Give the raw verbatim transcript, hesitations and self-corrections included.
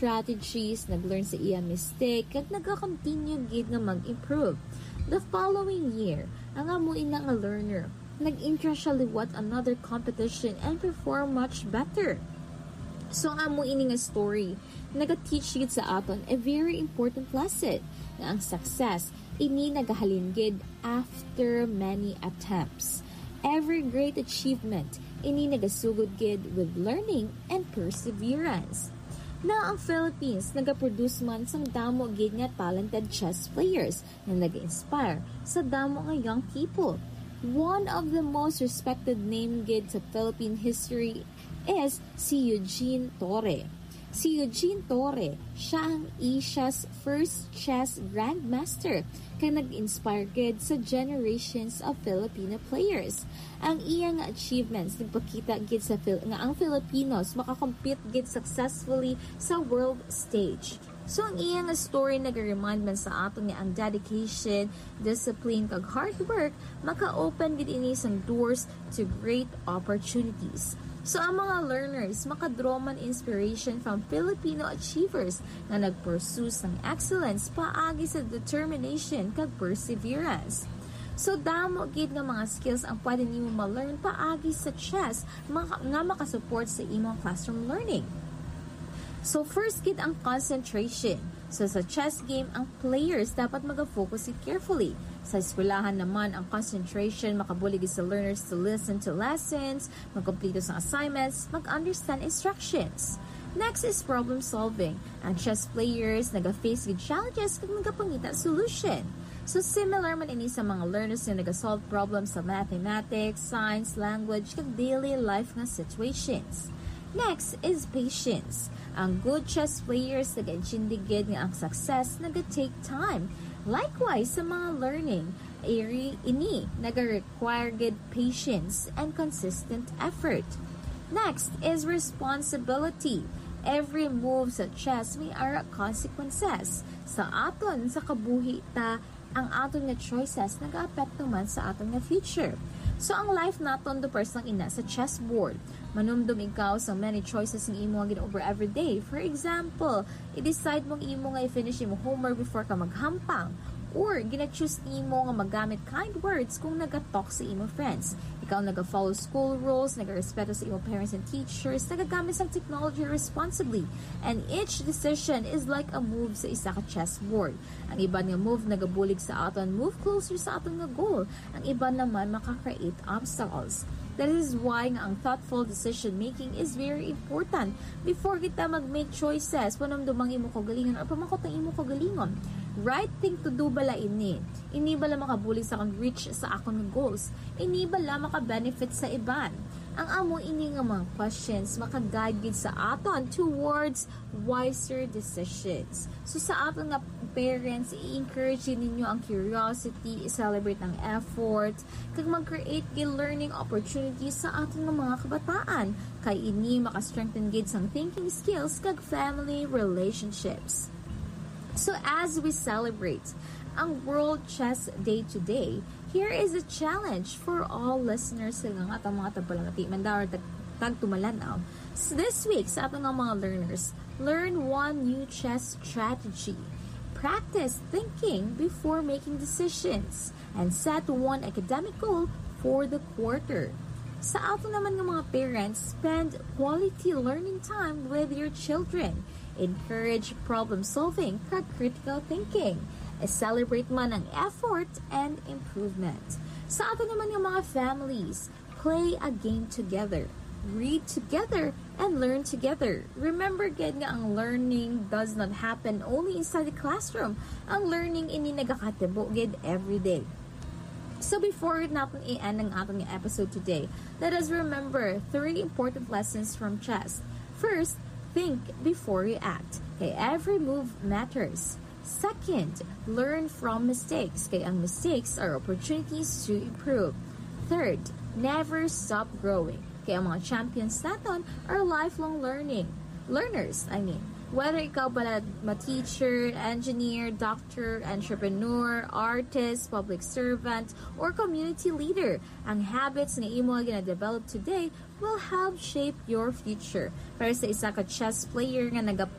strategies, nag-learn sa iya mistake, kag nagakontinue gid nga mag-improve. The following year, ang amo ina nga learner, nag-enter siya liwat another competition and perform much better. So, ang amo ini nga story, nagateach gid sa aton a very important lesson, nga ang success, ini nagahalin gid after many attempts. Every great achievement, ini nagasugod gid with learning and perseverance. Now, ang Philippines nagaproduce man sang damo gid nga talented chess players nga nag-inspire sa damo nga young people. One of the most respected name gid sa Philippine history is si Eugene Torre. Si Eugene Torre, siya ang Asia's first chess grandmaster, kag nag-inspire gid sa generations of Filipino players. Ang iya nga achievements nagpakita gid sa Fil- nga ang Filipinos makakompete gid successfully sa world stage. So, ang iya nga story nag-remind man sa aton nga ang dedication, discipline, kag hard work maka-open gid ini sang doors to great opportunities. So, ang mga learners makadraw man inspiration from Filipino achievers nga nag-pursue sang excellence paagi sa determination kag perseverance. So, damo gid nga mga skills ang pwede nimo ma-learn paagi sa chess maka- nga makasupport sa imong classroom learning. So, first gid ang concentration. So, sa chess game, ang players dapat maga-focus gid carefully. Sa eskwelahan naman, ang concentration makabulig sa learners to listen to lessons, magkompleto sa assignments, mag-understand instructions. Next is problem solving. Ang chess players naga-face gid challenges kag nagapangita solution. So, similar man ini sa mga learners nga naga-solve problems sa mathematics, science, language, kag daily life nga situations. Next is patience. Ang good chess players nagaintindi gid nga ang success naga-take time. Likewise, sa mga learning, iri ini naga-require gid patience and consistent effort. Next is responsibility. Every move sa chess may ara consequences. Sa aton, sa kabuhi ta, ang aton nga choices nagaapekto man sa aton nga future. So, ang life naton do person ina sa chessboard. Manumdom ikaw sa many choices nga imo nga gin-over every day. For example, i-decide mo ang imo nga i-finish imo homework before ka maghampang. Or, gina-choose nimo nga magamit kind words kung nagatalk sa imo friends. Ikaw naga-follow school rules, nagarespeto sa imo parents and teachers, nagagamit sa technology responsibly. And each decision is like a move sa isa ka chessboard. Ang iban nga move nagabulig sa aton move closer sa aton nga goal. Ang iban naman maka-create obstacles. That is why nga ang thoughtful decision making is very important. Before kita mag-make choices, panumdum ang imo kaugalingon or pamakot ang imo kaugalingon. Right thing to do bala ini? Ini bala makabulig sa akong reach sa akon nga goals? Ini bala maka-benefit sa iban? Ang amo ini nga mga questions maka-guide gid sa aton towards wiser decisions. So, sa aton nga parents, i-encourage ninyo ang curiosity, i-celebrate ang effort, kag mag-create gid learning opportunities sa aton nga mga kabataan, kay ini maka-strengthen gid sang thinking skills kag family relationships. So, as we celebrate ang World Chess Day today, here is a challenge for all listeners sa nga atong mga tagpalangati man daw or tag- tagtumalan-aw. So, this week, sa aton nga mga learners, learn one new chess strategy. Practice thinking before making decisions and set one academic goal for the quarter. Sa aton naman nga mga parents, spend quality learning time with your children. Encourage problem solving kag critical thinking. E-celebrate man ang effort and improvement. Sa aton naman nga mga families, play a game together. Read together and learn together. Remember gid nga ang learning does not happen only inside the classroom. Ang learning ini nagakatabo gid every day. So before natin i-end ang ating episode today, let us remember three important lessons from chess. First, think before you act. Kay every move matters. Second, learn from mistakes. Kay ang mistakes are opportunities to improve. Third, never stop growing. Kay ang mga champions naton are lifelong learning. Learners, I mean. Whether ikaw bala ma-teacher, engineer, doctor, entrepreneur, artist, public servant, or community leader, ang habits nga imo nga gina-develop today will help shape your future. Pero sa isa ka chess player nga nagaplano